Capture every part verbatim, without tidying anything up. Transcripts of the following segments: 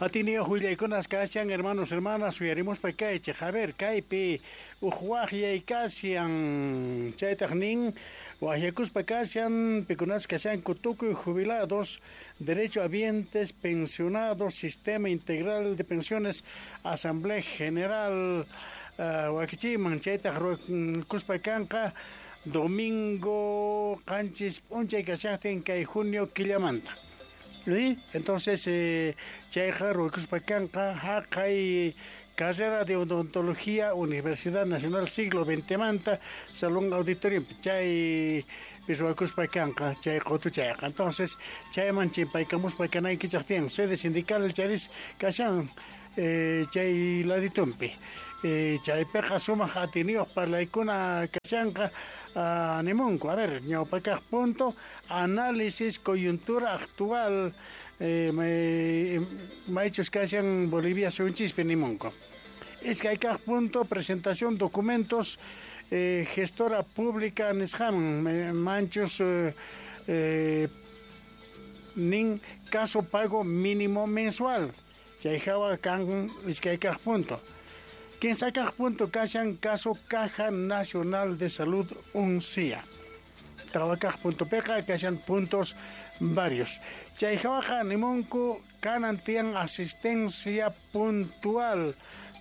Atiniyuq willaykunas kashan, hermanos, hermanas, uyarimuspa kaychej. A ver, kaypi uj wajyay kashan, chaytaj nin wajyakuspa kashan, pikunas kashanku tukuy jubilados, derecho habientes, pensionados, sistema integral de pensiones, asamblea general uh, wakichiman, chaytaj ruwakuspa kanqa domingo qanchis p'unchay kashajtin kay junio killamanta. ¿Sí? Entonces, eh, chayqa ruwakuspa kanqa jaqay carrera de odontología Universidad Nacional Siglo veinte manta Salón Auditorio chay ruwakuspa kanqa chay qotuchayqa. Entonces, chayman chimpaykamuspa kanaykichaj tiyan sede sindical charis kashan eh, chay laditumpi. Eh, chaypiqa sumaq atiniyuq parlaykuna kashanqa uh, nimunku. A ver, ñawpakaq punto, análisis coyuntura actual eh, maychus kashan Bolivia suyunchispi nimunku. Iskaykaq punto, presentación documentos eh, gestora pública nisqaman manchus eh, eh, nin caso pago mínimo mensual. Chay hawa kan iskaykaq punto. Kinsakaq punto kashan caso Caja Nacional de Salud Uncia. Tawakaq punto peqa kashan puntos varios. Chay hawaqa nimunku kanan tiyan asistencia puntual.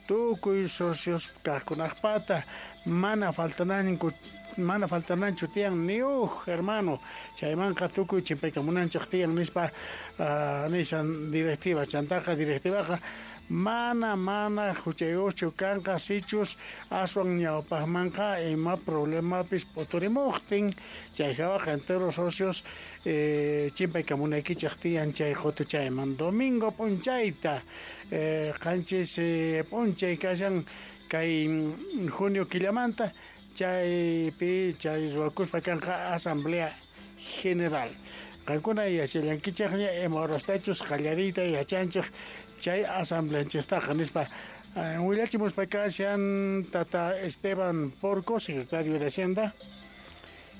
Tukuy socios kajkunajpata mana faltananku mana faltananchu tiyan ni uj hermano. Chaymanqa tukuy chimpaykamunanchej tiyan nispa uh, nishan directiva chantaqa directivaqa mana mana huchayuqchu kanqa sichus aswan ñawpaqmanqa ima problemapis p'uturimuqtin chay hawaqa entero socios eh, chimpaykamunaykichej tiyan chay qotuchayman domingo p'unchayta eh, qanchis eh, p'unchay kashan kay junio killamanta chaypi chay ruwakuspa kanqa asamblea general. Qankuna yachallankichejña ima horastachus qallariyta yachanchej chay asambleanchejtaqa nispa willachimuspa kashan tata Esteban Porco, secretario de Hacienda,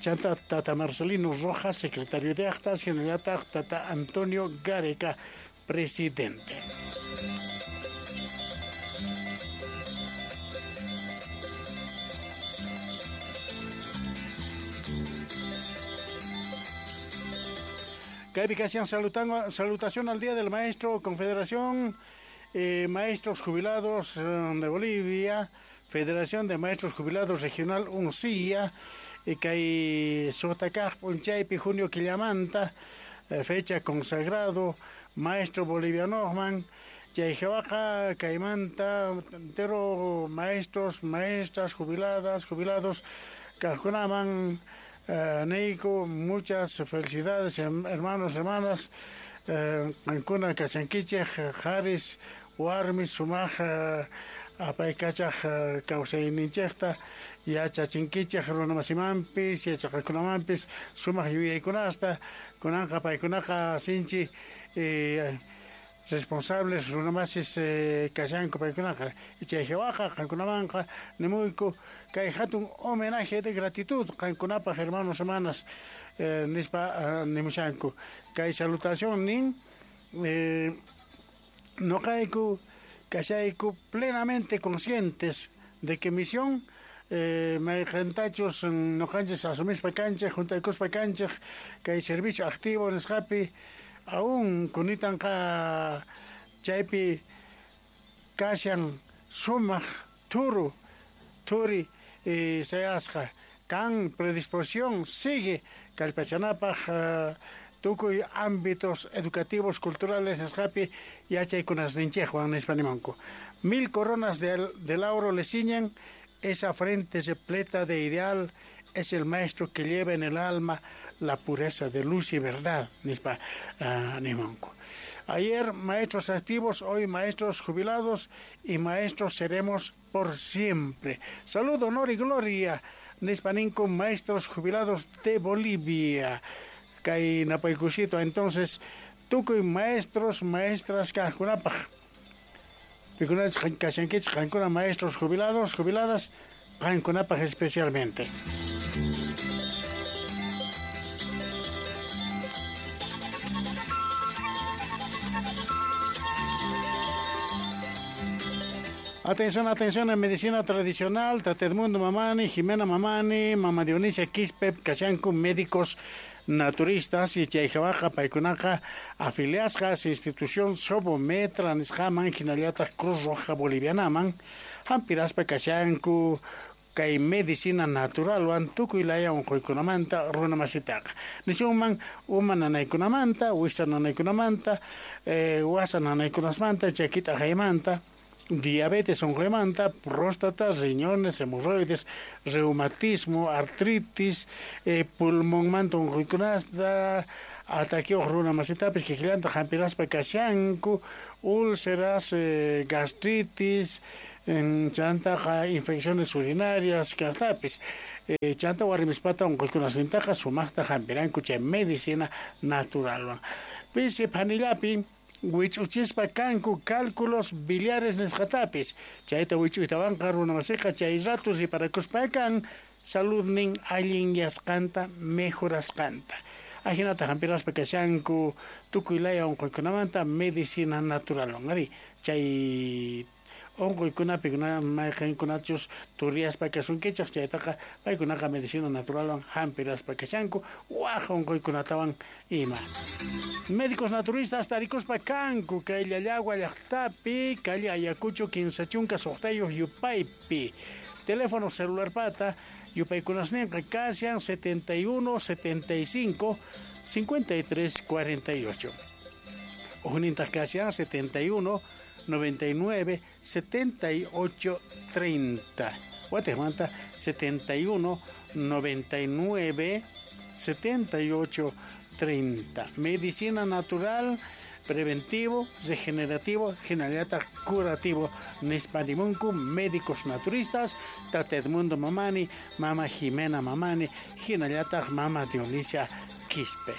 chanta tata Marcelino Rojas, secretario de Actas, hinallataq tata Antonio Gareca, presidente. Kaypi kashan salutación al Día del Maestro, Confederación eh, Maestros Jubilados de Bolivia, Federación de Maestros Jubilados Regional Uncia, y kay suqta p'unchaypi junio killamanta, eh, fecha consagrado maestro bolivianoman, chay hawaqa kaymanta entero maestros, maestras jubiladas, jubilados kajkunaman Uh, niyku, muchas felicidades hermanos, hermanas, qankuna uh, kashankichej qharis warmis sumaq uh, apaykachaj uh, kawsayninchejta yachachinkichej runamasimanpis yachaqakunamanpis sumaq yuyaykunasta kunanqa paykunaqa sinchi eh, responsables runamasis eh, kashanku paykunaqa chay hawaqa qankunamanqa nimuyku kay hatun homenaje de gratitud qankunapaq hermanos hermanas eh, nispa uh, nimushanku kay salutación nin eh, noqayku kashayku plenamente conscientes de que misión eh, mayqintachus noqanchis asumispa kanchej juntaykuspa kanchej kay servicio activo nisqapi aún kunitanqa chaypi kashan sumaq thuru thuri eh, sayasqa kan predisposición sigue kallpachanapaq uh, tukuy ámbitos educativos culturales nisqapi yachaykunasninchejwan nispa nimanku. Mil coronas de, de lauro le ciñen, esa frente repleta de ideal es el maestro que lleva en el alma la pureza de luz y verdad, nispa uh, nimanku. Ayer maestros activos, hoy maestros jubilados y maestros seremos por siempre. Salud, honor y gloria, nispa ninku maestros jubilados de Bolivia. Kay napaykusito, entonces, tukuy maestros, maestras kajkunapaj. Pikunach kashankichej qankuna maestros jubilados, jubiladas, qankunapaj especialmente. Atención, atención en medicina tradicional, Tata Edmundo Mamani, Jimena Mamani, Mama Dionisia Quispe, kashanku médicos naturistas y chayjawaqa paykunaqa afiliasqas institución Sobometra nisqaman hinallataq Cruz Roja Bolivianaman hampiraspa kashanku kay medicina naturalwan tukuy laya unquykunamanta runa masitaqa nisunman uma nanaykunamanta, wiksa nanaykunamanta, eh, wasa nanaykunasmanta, chakita haymanta, diabetes unquymanta, próstata, riñones, hemorroides, reumatismo, artritis, eh, pulmonmanta unquykunasta, ataqueoj runa masitapis kikillanta hampiraspa kashanku, úlceras, eh, gastritis, chantaqa infecciones urinarias kaqtapis, eh, chanta warmispata unquykunasnintaqa sumaqta hampiranku chay medicina naturalwan. Pisi phanillapi wich'uchispa kanku cálculos biliares nisqatapis, chayta wich'uytawanqa runa masiqa chay rato riparakuspa kan saludnin allinyasqanta mejorasqanta. Ajinata hampiraspa kashanku tukuy laya unquykunamanta medicina naturalwan. Ari chay unquykunapi mayqinkunachus turiyaspa kasunkichaq chaytaqa paykunaqa medicina naturalwan hampiraspa kashanku waj unquykunatawan ima. Médicos naturistas tarikuspa kanku kay Llallagua llaqtapi, calle Ayacucho kinsa chunka suqtayuq yupaypi. Teléfono celular pata yupaykunasninqa kashan setenta y uno, setenta y cinco, cincuenta y tres, cuarenta y ocho. Ujnintaq kashan setenta y uno, noventa y nueve, setenta y ocho, treinta. Guatemala setenta y uno, noventa y nueve, setenta y ocho, treinta. Medicina natural, preventivo, regenerativo, generalata curativo. Nispanimunku, médicos naturistas, Tata Edmundo Mamani, Mama Jimena Mamani, Hinallataq Mama Dionisia Quispe.